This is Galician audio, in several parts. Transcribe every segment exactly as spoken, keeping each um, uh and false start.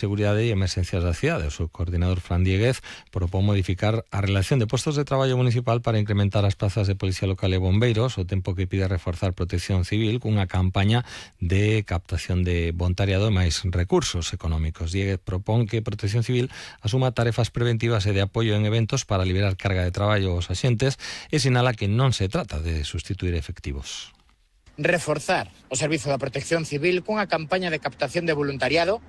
Seguridade e Emerxencias da cidade. O seu coordinador Fran Dieguez propón modificar a relación de postos de traballo municipal para incrementar as plazas de Policía Local e Bombeiros, o tempo que pide reforzar Protección Civil cunha campaña de captación de voluntariado e máis recursos económicos. Dieguez propón que Protección Civil asuma tarefas preventivas e de apoio en eventos para liberar carga de traballo aos axentes e sinala que non se trata de sustituir efectivos. Reforzar o servizo da Protección Civil cunha campaña de captación de voluntariado,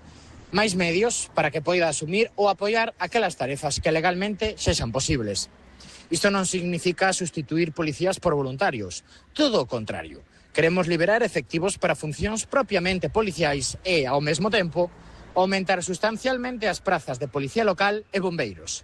máis medios para que poida asumir ou apoiar aquelas tarefas que legalmente sexan posibles. Isto non significa sustituir policías por voluntarios, todo o contrario. Queremos liberar efectivos para funcións propiamente policiais e, ao mesmo tempo, aumentar sustancialmente as prazas de Policía Local e Bombeiros.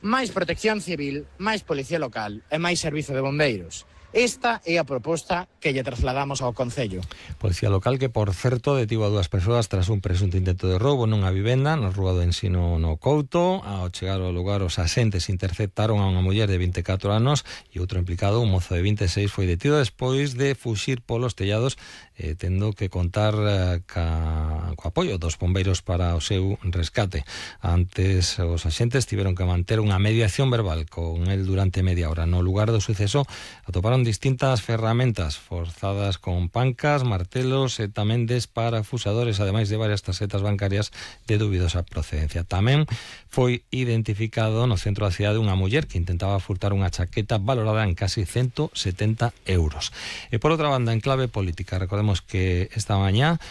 Máis Protección Civil, máis Policía Local e máis Servizo de Bombeiros. Esta é a proposta que lle trasladamos ao Concello. Policía Local que, por certo, detivo a dúas persoas tras un presunto intento de roubo nunha vivenda na Rúa do Ensino no Couto. Ao chegar ao lugar, os axentes interceptaron a unha muller de vinte e catro anos e outro implicado, un mozo de vinte e seis, foi detido despois de fuxir polos tellados, eh, tendo que contar eh, ca, co apoio dos bombeiros para o seu rescate. Antes, os axentes tiveron que manter unha mediación verbal con el durante media hora. No lugar do suceso atoparon distintas ferramentas forzadas con pancas, martelos e tamén desparafusadores, ademais de varias tarxetas bancarias de dubidosa procedencia. Tamén foi identificado no centro da cidade unha muller que intentaba furtar unha chaqueta valorada en casi ciento setenta euros. E por outra banda, en clave política, recordemos que esta mañá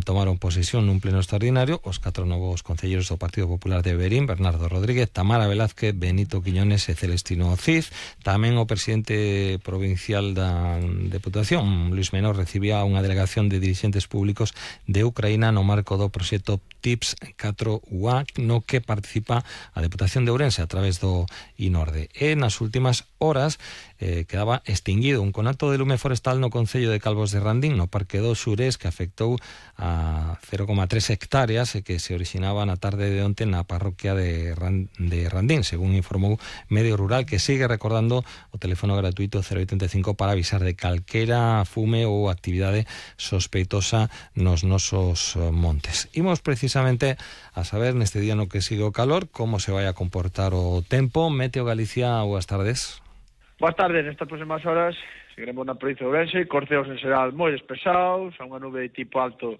tomaron posesión nun pleno extraordinario os catro novos concelleiros do Partido Popular de Verín: Bernardo Rodríguez, Tamara Velázquez, Benito Quiñones e Celestino Cid. Tamén o presidente provincial da Deputación, Luis Menor, recibía unha delegación de dirixentes públicos de Ucraína no marco do proxecto TIPS catro U A, no que participa a Deputación de Ourense a través do INORDE. E nas últimas horas eh, quedaba extinguido un conato de lume forestal no Concello de Calvos de Randín, no Parque do Xurés, que afectou a cero coma tres hectáreas e que se orixinaba na tarde de onte na parroquia de, Rand, de Randín, según informou Medio Rural, que sigue recordando o teléfono gratuito cero oitenta e cinco para avisar de calquera fume ou actividade sospeitosa nos nosos montes. Imos precisamente a saber neste día no que sigue o calor como se vai a comportar o tempo. Meteo Galicia, boas tardes. Boas tardes. Nestas próximas horas seguiremos na provincia de Ourense, corceos en xeral moi despesados, a unha nube de tipo alto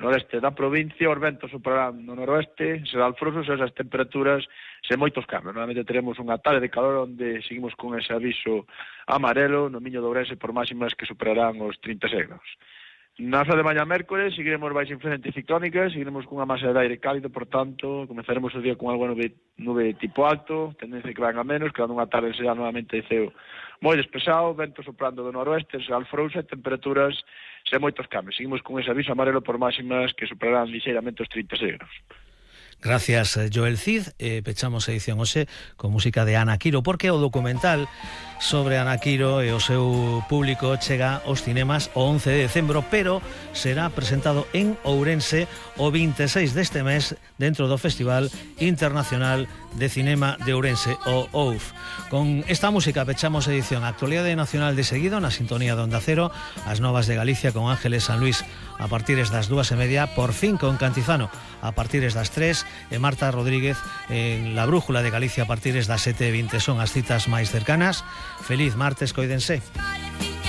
no oeste da provincia, os ventos soprarán no noroeste, serán frosos e esas temperaturas sen moitos cambios. Normalmente teremos unha tarde de calor onde seguimos con ese aviso amarelo no Miño de Ourense por máximas que superarán os trinta e seis graus. Na hora de mañá mércores seguiremos baixo influencia anticiclónica, seguiremos cunha masa de aire cálido, por tanto, comenzaremos o día con algo nube, nube de tipo alto, tendencia que van a menos, quedando unha tarde será novamente de ceo moi despesado, vento soprando do noroeste, será frouxa, temperaturas sen moitos cambios. Seguimos con ese aviso amarelo por máximas que superarán lixeiramente os trinta e seis graus. Gracias, Joel Cid. Eh, pechamos a edición hoxe con música de Ana Quiro, porque o documental sobre Ana Quiro e o seu público chega aos cinemas o once de decembro, pero será presentado en Ourense o vinte e seis deste mes dentro do Festival Internacional de Cinema de Ourense, o O U F. Con esta música pechamos a edición Actualidade Nacional de seguido na sintonía de Onda Cero, as novas de Galicia con Ángeles San Luis a partir das dúas e media, por fin con Cantizano a partir das tres e Marta Rodríguez en La Brújula de Galicia a partir das sete e vinte. Son as citas máis cercanas. Feliz martes, coídense.